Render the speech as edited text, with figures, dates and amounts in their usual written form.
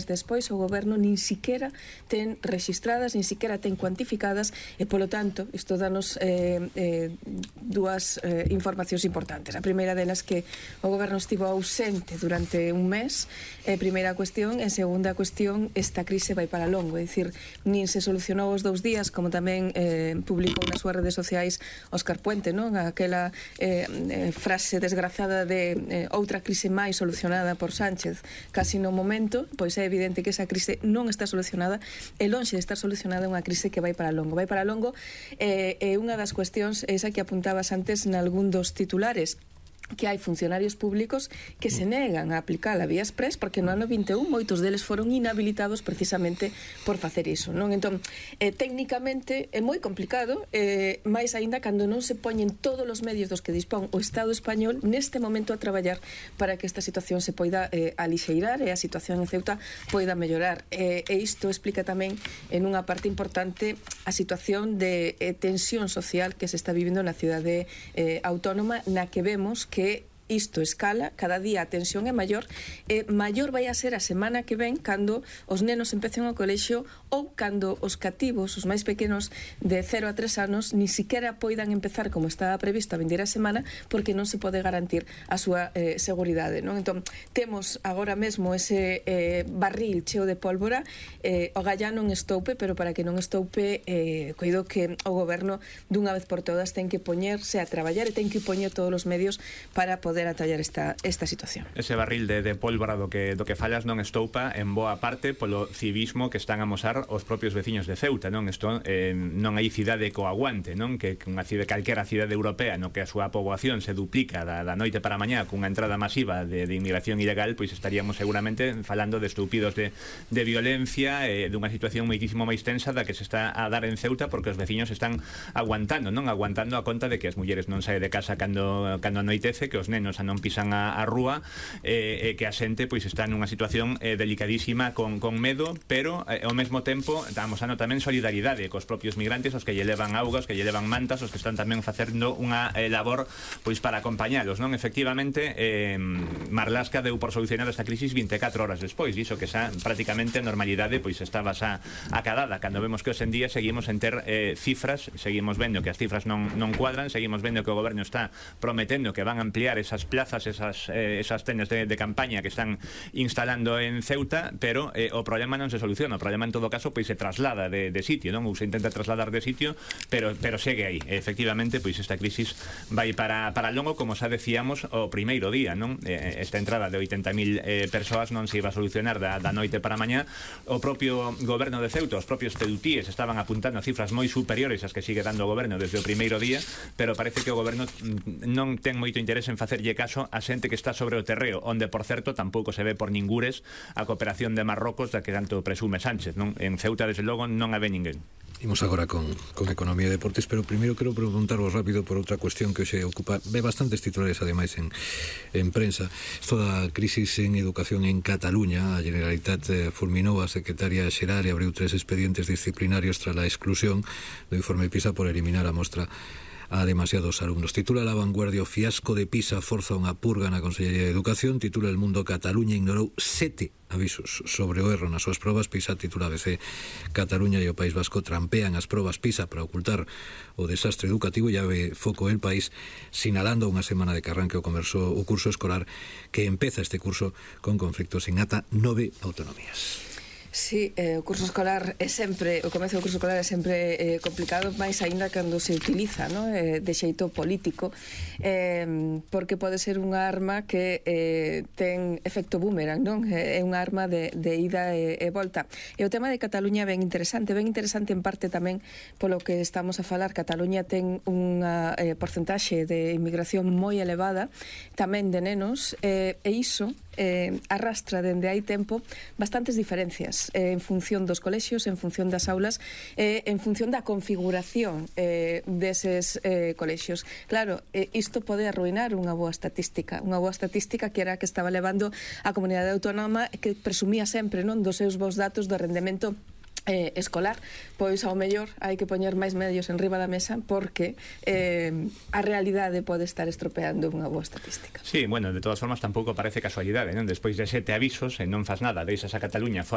despois o goberno nin siquiera ten registradas, nin siquiera ten cuantificadas, e polo tanto isto danos dúas informacións importantes. A primeira delas que o goberno estivo ausente durante un mes, primeira cuestión, e segunda cuestión, esta crise vai para longo, é dicir, nin se solucionou os 2 días, como tamén publicou nas súas redes sociais Óscar Puente, non? Aquela frase desgrazada de outra crise máis solucionada por Sánchez casi no momento, pois é evidente que esa crise non está solucionada, e lonxe de estar solucionada é unha crise que vai para longo. Vai para longo, e unha das cuestións é esa que apuntabas antes nalgún dos titulares, que hai funcionarios públicos que se negan a aplicar a vía express porque no ano 21 moitos deles foron inhabilitados precisamente por facer iso, non? Entón, técnicamente é moi complicado, máis aínda cando non se poñen todos os medios dos que dispón o Estado español neste momento a traballar para que esta situación se poida alixeirar e a situación en Ceuta poida mellorar, e isto explica tamén en unha parte importante a situación de tensión social que se está vivindo na cidade autónoma, na que vemos que isto escala, cada día a tensión é maior, e maior vai a ser a semana que ven cando os nenos empecen o colexio ou cando os cativos, os máis pequenos de 0 a 3 anos, ni siquiera poidan empezar como estaba previsto a vindeira semana porque non se pode garantir a súa seguridade, non? Entón, temos agora mesmo ese barril cheo de pólvora, o galla non estoupe, pero para que non estoupe, coido que o goberno dunha vez por todas ten que poñerse a traballar e ten que poñer todos os medios para poder atallar esta situación. Ese barril de pólvora do que fallas non estoupa en boa parte polo civismo que están a mosar os propios veciños de Ceuta, non? Isto non hai cidade co aguante, non? Que unha cidade, calquera cidade europea no que a súa poboación se duplica da noite para a mañá cunha entrada masiva de inmigración ilegal, pois estaríamos seguramente falando de estúpidos de violencia, dunha situación moitísimo máis tensa da que se está a dar en Ceuta porque os veciños están aguantando, non? Aguantando a conta de que as mulleres non saen de casa cando anoitece, que os nenos xa non pisan a rúa, que a xente pois está nunha situación delicadísima con medo, pero ao mesmo tempo estamos ano tamén solidaridade cos propios migrantes, os que lle levan augas, que lle levan mantas, os que están tamén facendo unha labor pois para acompañalos, non? Efectivamente, Marlaska deu por solucionar esta crisis 24 horas despois, iso que xa prácticamente a normalidade pois estaba xa acadada, cando vemos que hoxe en día seguimos en ter cifras, seguimos vendo que as cifras non cuadran, seguimos vendo que o goberno está prometendo que van a ampliar esas plazas, esas tendas de campaña que están instalando en Ceuta, pero o problema non se soluciona, o problema en todo caso pois se traslada de sitio, non? Ou se intenta trasladar de sitio, pero segue aí. Efectivamente, pois esta crisis vai para longo, como xa decíamos o primeiro día, non? Esta entrada de 80.000 persoas non se iba a solucionar da noite para a mañá. O propio goberno de Ceuta, os propios ceutíes estaban apuntando a cifras moi superiores ás que sigue dando o goberno desde o primeiro día, pero parece que o goberno non ten moito interés en facerlle caso a xente que está sobre o terreo, onde, por certo, tampouco se ve por ningures a cooperación de Marrocos da que tanto presume Sánchez, non? En Ceuta, desde logo, non a ve ninguén. Imos agora con Economía e Deportes, pero primeiro quero preguntarvos rápido por outra cuestión que se ocupa, ve bastantes titulares ademais en prensa, toda a crisis en educación en Cataluña. A Generalitat fulminou a secretaria xeral e abriu 3 expedientes disciplinarios tras a exclusión do informe PISA por eliminar a mostra a demasiados alumnos. Titula La Vanguardia: o fiasco de Pisa forza unha purga na Consellería de Educación. Titula El Mundo: Cataluña ignorou 7 avisos sobre o erro nas súas probas PISA. Titula ABC: Cataluña e o País Vasco trampean as probas PISA para ocultar o desastre educativo. Ya ve foco El País sinalando unha semana de que arranque o curso escolar, que empeza este curso con conflictos en ata 9 autonomías. Sí, o curso escolar é sempre, o comezo do curso escolar é sempre complicado, máis aínda cando se utiliza, non? De xeito político, porque pode ser unha arma que ten efecto boomerang, non? É unha arma de ida e volta. E o tema de Cataluña ben interesante en parte tamén polo que estamos a falar. Cataluña ten unha porcentaxe de inmigración moi elevada, tamén de nenos, e iso arrastra dende hai tempo bastantes diferencias en función dos colexios, en función das aulas, en función da configuración deses colexios. Claro, isto pode arruinar unha boa estatística que era a que estaba levando a comunidade autónoma, que presumía sempre, non, dos seus bons datos do rendemento escolar. Pois ao mellor hai que poñer máis medios en riba da mesa porque a realidade pode estar estropeando unha boa estatística. Sí, bueno, de todas formas tampouco parece casualidade, non? Despois de 7 avisos e non fas nada, deixas a Cataluña